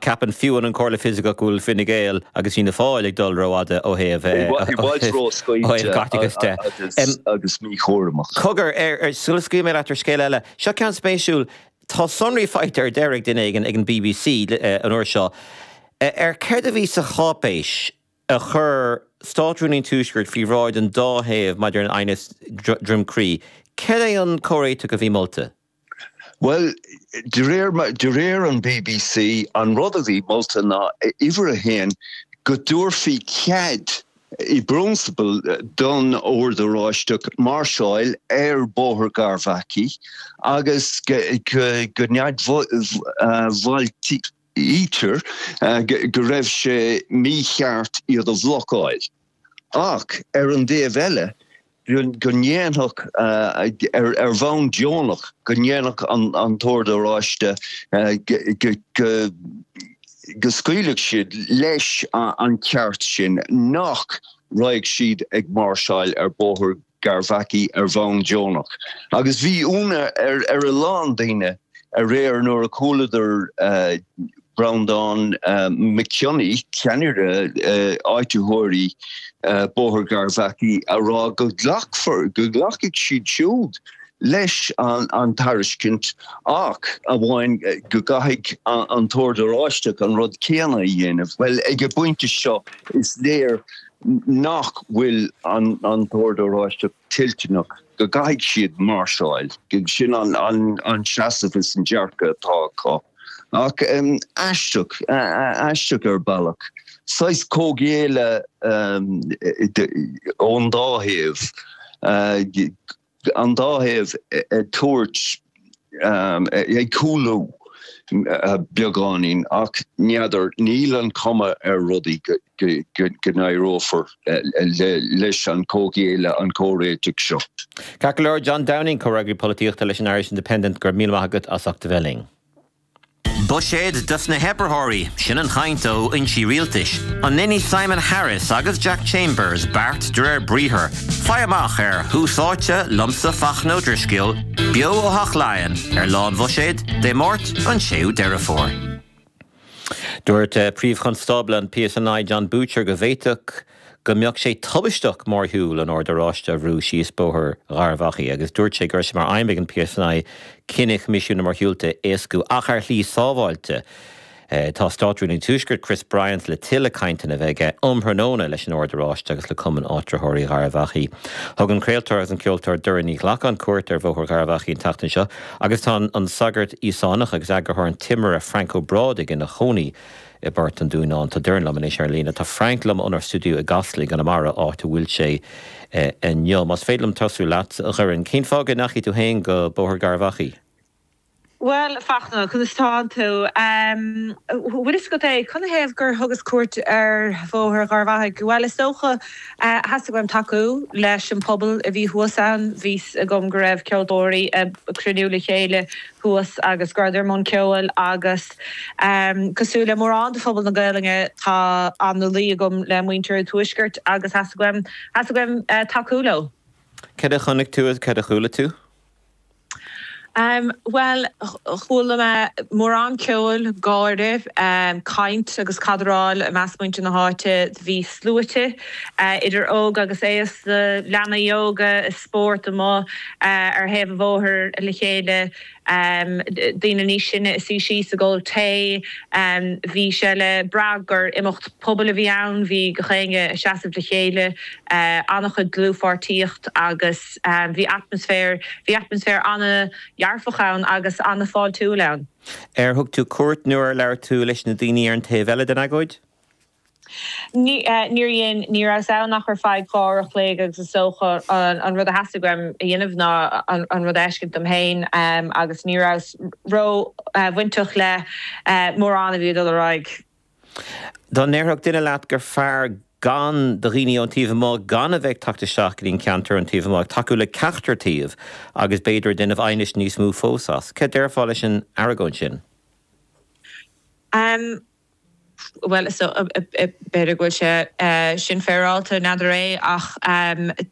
Ceapann fiú an Chomhairle Fisicach go bhfuil Fine Gael agus Fianna Fáil ag dul rófhada ó thaobh I bhfad róscaoilte caiteachais de. agus míchúramach. Cogar, sula scaoilfidh mé leat ar scéal eile, seo ceann spéisiúil, tá sonraí faighte ar deireadh ag duine éigin ag an bbc an uair seo ar céard a bhí sa cháipéis a chuir Státrúnaí an Tuaiscirt faoi bhráid an dá thaobh maidir an aighneas Droim Crí. Céard é an comhréiteach a bhí molta? Bhuel, de réir, de réir an bbc, an rud a bhí molta ná, uimhir a haon, go dtabharfaí cead i bprionsabal don Ord Oráisteach máirseáil ar Bhóthar Gharbhachaidh agus go n-admhaítear go raibh sé mícheart iad a bhlocáil. Ach ar an dtaobh eile, go ndéanfadh, ar bhonn deonach, go ndéanfadh an tOrd Oráiste, go scaoilfeadh siad leis an ceart sin, nach raghadh siad ag máirseáil ar Bhóthar Gharbhachaidh ar bhonn deonach. Agus bhí ionadh ar a lán daoine aréir nuair a chualadar Breandán Mac Cionnaith, ceannaire áititheoirí Bóthar Gharbhachaidh, a rá go nglacfar, go nglacfaidh siad siúd leis an tairiscint ach amháin go gcaithfidh an tOrd Oráisteach an rud céanna a dhéanamh. Bhuel, ag an bpointe seo is léir nach bhfuil an tOrd Oráisteach toilteanach go gcaithfidh siad máirseáil. Sin an seasamh is an dearcadh atá acu. Ach aisteach, aisteach ar bealach. Saghas comhghéilleadh ón dá thaobh. An dá thaobh ag tabhairt, ag cúlú beagáinín ach n'fheadar, níl an chuma ar rudaí go n-éireofar leis an chomhghéilleadh, an comhréiteach seo. Ceart go leor, John Downing, Comhfhreagraí Polaitíochta leis an Irish Independent, go raibh míle maith agat as ucht a bheith linn. Buiséad dos na hoibritheoirí, sin an chaint ó fhoinsí rialtais. An ndéanfaidh Simon Harris agus Jack Chambers beart de réir briathair? Faigh amach ar Thús Áite liomsa Fachtna Ó Drisceoil, beo ó Theach Laighean ar Lá an Bhuiséid, Dé Máirt an 6ú Deireadh Fómhair. Dúirt Príomh-Chonstábla an PSNI Jon Boutcher go bhféadfadh go mbeadh sé tubaisteach mórshiúl an Oird Oráiste a bhrú síos Bóthar Gharbhachaidh agus dúirt sé go raibh sé mar aidhm ag an PSNI cinneadh Choimisiún na Mórshiúlta a éascú ach ar shlí sábháilte. Tá Státrúnaí an Tuaiscirt Chris Bryant le tuilleadh cainteanna a bheith aige um thráthnóna leis an Ord Oráiste agus le Cumann Áitritheoirí Gharbhachaidh. Thug an craoltóir agus an ceoltóir Doireann Ní Ghlacáin cuairt ar Bhóthar Gharbhachaidh an tseachtain seo agus tá an sagart Íosánach agus eagarthóir an Timire Frank Ó Brádaigh ina chónaí i bPort an Dúnáin. Tá Doireann liom anois ar líne. Tá Frank liom ónár stiúideo i gCasla i gConamara, áit a bhfuil sé inniu. Más féidir liom tosú leat, a Dhoireann, cén fáth go ndeachaigh tú féin go Bóthar Gharbhachaidh? Bhuel, a Fachtna, conas tánn tú? Bhfuil fhios agat é, canathaobh gur thugas cuairt ar Bhóthar Gharbhachaidh? Bhuel, is dócha, theastaigh uaim tacú leis an pobal a bhí thuas ann. Bhí 'fhios agam go raibh ceoltóirí ag cruinniú le chéile thuas agus go rabhadar i mbun ceoil agus cosúil le mórán de phobal na Gaelainne tá an-luí agam le muintir an Tuaiscirt agus theastaigh uaim, theastaigh uaim tacú leo. Cad a chonaic tú agus cad a chuala tú? Bhuel, chuala mé mórán ceoil, gáire, caint agus cadráil i measc muintir na háite. Bhí sluaite, idir óg agus aosta, leanaí óga ag spórt amuigh ar thaobh an bhóthair le chéile, daoine níos sine ag suí síos ag ól tae. Bhí sé le brath gur imeacht pobail a bhí ann, bhí gach éinne ag seasamh le chéile, an-chuid dlúthpháirtíocht agus. Bhí atmaisféar, bhí atmaisféar an-dhearfach ann agus an-fháiltiúil ann. Ar thug tú cuairt nó ar labhair tú leis na daoine ar an taobh eile den agóid? Ní, níor dhein, ní rabhas ann ach ar feadh 2 uair a chloig agus is dócha an rud a theastaigh uaim a dhéanamh ná an rud a fheiscint dom féin agus ní rabhas ró-bhainteach le mórán a bhí ag dul ar aghaidh. Dá ndéarfadh duine leat gur fearr gan do dhaoine ón taobh amuigh gan a bheith ag teacht isteach go dtí an ceantar ón taobh amuigh, ag tacú le ceachtar taobh agus b'fhéidir ag déanamh aighnis níos mó fós as. Cad déarfá leis an argóint sin? Bhuel, is b'fhéidir go bhfuil sé sin féaráilte, n'fheadar é, ach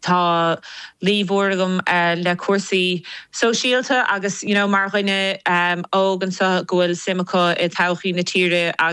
tá luí mhór agam le cúrsaí sóisialta agus you know mar dhuine óg anseo go bhfuil suim acu i todhchaí na tíre agus.